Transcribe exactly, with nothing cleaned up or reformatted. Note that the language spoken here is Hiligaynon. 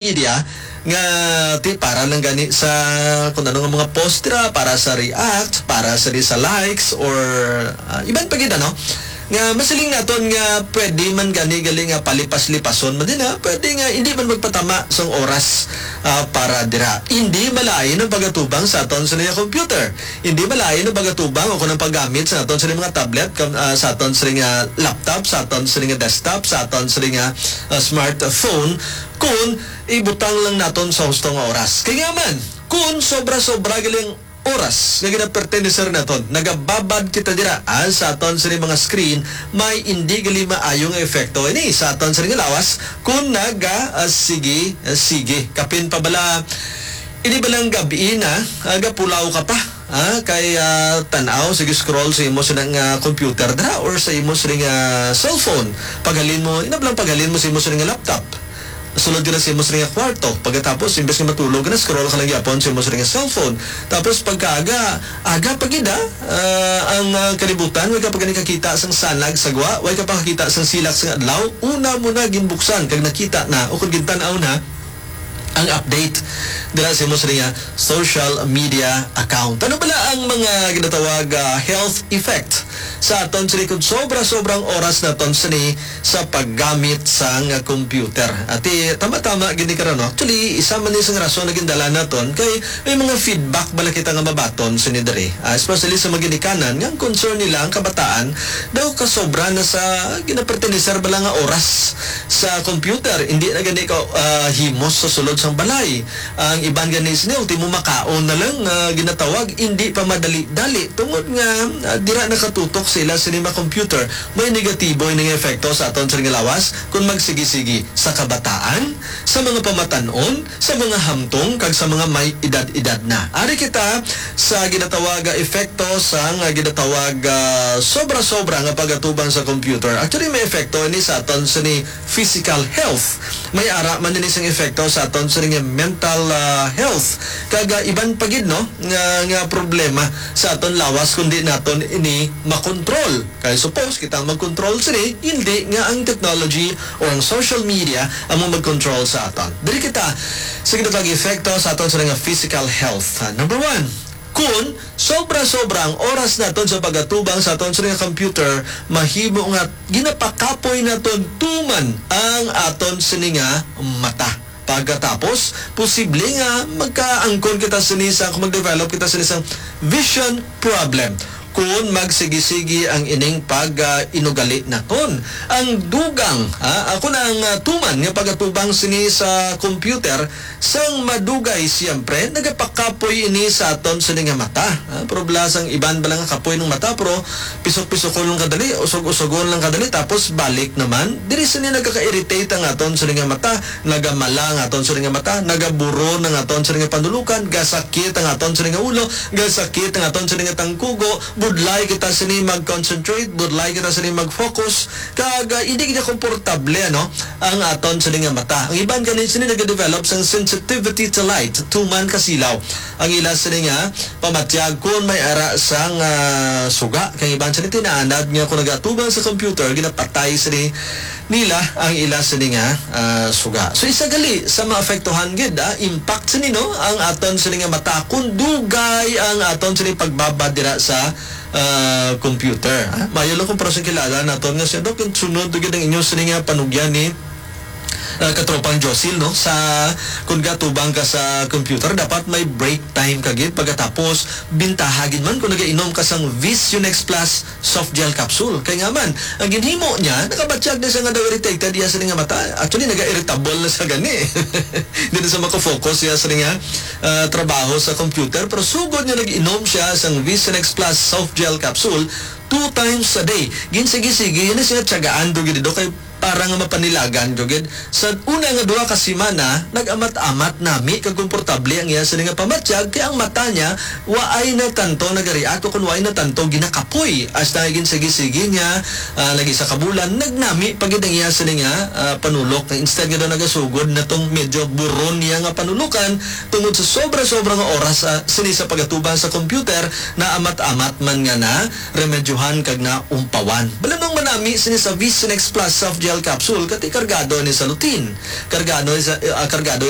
media nga ti para lang gani sa kung ano nga mga post dira, para sa react, para sa di sa likes, or, ah, iban pa gid, ano, nga masiling naton nga pwede man gani gali nga palipas-lipason man din, ha? Pwede nga hindi man magpatama sang oras, ah, para dira. Hindi malain ang pagatubang sa aton sa niya computer. Hindi malain ang pagatubang o kung ang paggamit sa aton sa mga tablet, kam-, ah, sa aton sa nga laptop, sa aton sa nga desktop, sa aton sa nga, ah, smartphone, kung ibutang lang naton sa husto nga oras. Kay nga man, kung sobra-sobra galing oras nga ginaperteneser naton, nagababad kita dira, ah, sa aton sa mga screen, may hindi gali maayo nga epekto ini sa aton sa nga lawas kung naga, ah, sige, ah, sige. Kapin pa bala, ini balang gabi na, ah, gapulaw ka pa, ah, kay, ah, tan-aw, sige, scroll sa imo sa nga computer dira or sa imo sa nga cellphone. Paghalin mo, ina lang paghalin mo sa imo sa nga laptop. Sulod ka na sa imo sa nga kwarto. Pagkatapos, imbes nga matulog ka na, scroll ka lang gyapon sa imo sa nga cellphone. Tapos pagkaaga, aga pa gid, ah, ah, ang, ah, kalibutan, way ka pa gani kakita sang sanag sa gwa, way ka pa kakita sang silak sang adlaw, una mo na ginbuksan kag nakita na o kung gintan-aw na ang update dira sa imo sa nga social media account. Ano bala ang mga ginatawag, ah, health effect sa aton sini kung sobra-sobrang oras naton sini sa paggamit sang computer? Ati, tama-tama gid ni karon, no? Actually, isa man ni sang rason na gindala naton kay may mga feedback bala kita nga mabaton sini diri. Ah, especially sa mga ginikanan nga ang concern nila ang kabataan daw kasobra na sa ginaperteneser bala nga oras sa computer. Hindi na gani ka, ah, himos sa sulod sang balay. Ang iban gani sini, ultimo makaon na lang nga ginatawag, hindi pa madali-dali tungod nga, ah, dira nakatutok sila sini ma-computer. May negatibo ini nga epekto sa aton sa nga lawas kung magsigi-sigi sa kabataan, sa mga pamatan-on, sa mga hamtong, kag sa mga may edad-edad na. Ari kita sa ginatawag nga epekto sang, ah, ginatawag, ah, sobra-sobra nga pagatubang sa computer. Actually, may epekto ini sa aton sini physical health. May ara man ini sing epekto sa aton sini nga mental, ah, health. Kag, ah, iban pa gid, no, nga, nga problema sa aton lawas kundi naton ini makontrol. Kay suppose kita ang mag-control sini, hindi nga ang technology o ang social media ang mag-control sa aton. Diri kita sa ginatawag epekto sa aton sini nga physical health. Ah, number one, kun sobra-sobra ang oras naton sa pagatubang sa aton sini nga computer, mahimo nga ginapakapoy naton tuman ang aton sini nga mata. Pagkatapos, posible nga magkaangkon kita sini sa, kung mag-develop kita sini sa vision problem. Kung magsigi-sigi ang ining pag, ah, inugali naton. Ang dugang, ah, ako na ang, ah, tuman nga pagatubang sini sa computer, sang madugay, siyempre, nagapakapoy ini sa aton sini nga mata. Ah, pero bala sang iban bala nga kapoy ng mata, pero pisok-pisokon lang kadali, usog-usogon lang kadali, tapos balik naman. Diri sini nagkaka-irritate ang aton sini nga mata. Nagamala ang aton sini nga mata, nagaburon ang aton sini nga panulukan, gasakit ang aton sini nga ulo, gasakit ang aton sini nga tangkugo, budlay kita sini mag-concentrate, budlay kita sini mag-focus, kag, ah, hindi kita komportable, ano, ang aton sini nga mata. Ang iban gani sini nagadevelop sang sensitivity to light, tuman kasilaw ang ila sini nga pamatyag kun may ara sang, ah, suga. Kay iban sini tinaanad nga kung nagatubang sa computer, ginapatay sini nila ang ila sini nga, ah, suga. So, isa gali sa maapektuhan gid, ah, impact sini, no, ang aton sini nga mata kung dugay ang aton sini pagbabad dira sa, ah, computer, ah. Mayo lang kung parang kilala naton nga siya, Dok, yung sunod gid ang inyo sini nga panugyan ni, ah, katropang Josil, no, sa kung gatubang ka sa computer, dapat may break time ka gid. Pagkatapos, bintaha gid man kung nagainom ka sang Visionex Plus soft gel capsule. Kay nga man, ang ginhimo niya, nakabatyag na siya nga daw irritated iya sini nga mata. Actually, naga-irritable na siya gani. Hindi na siya makafocus iya sini nga, ah, trabaho sa computer. Pero sugod niya nag-inom siya sang Visionex Plus soft gel capsule two times a day. Ginsigi-sigi, yun na siya tiyagaan do gid do kay para nga mapanilagan, jud gid. Sa una nga duha ka semana, nag-amat-amat nami kag komportable ang iya sini nga pamatyag, kay ang mata niya waay na tanto nagareact o kun waay na tanto ginakapoy. Hasta nga ginsigi-sigi niya, ah, nag-isa ka bulan, nagnami pa gid ang iya sini nga, ah, panulok. Instead nga daw nagasugod na tong medyo buron niya nga panulukan tungod sa sobra-sobra nga oras, ah, sini sa pagatubang sa computer, naamat-amat man nga na remedyohan kag naumpawan. Balanong manami sini sa Visionex Plus Soft Gel capsule, kati kargado ni sa lutein, kargado ni sa, ah, kargado ni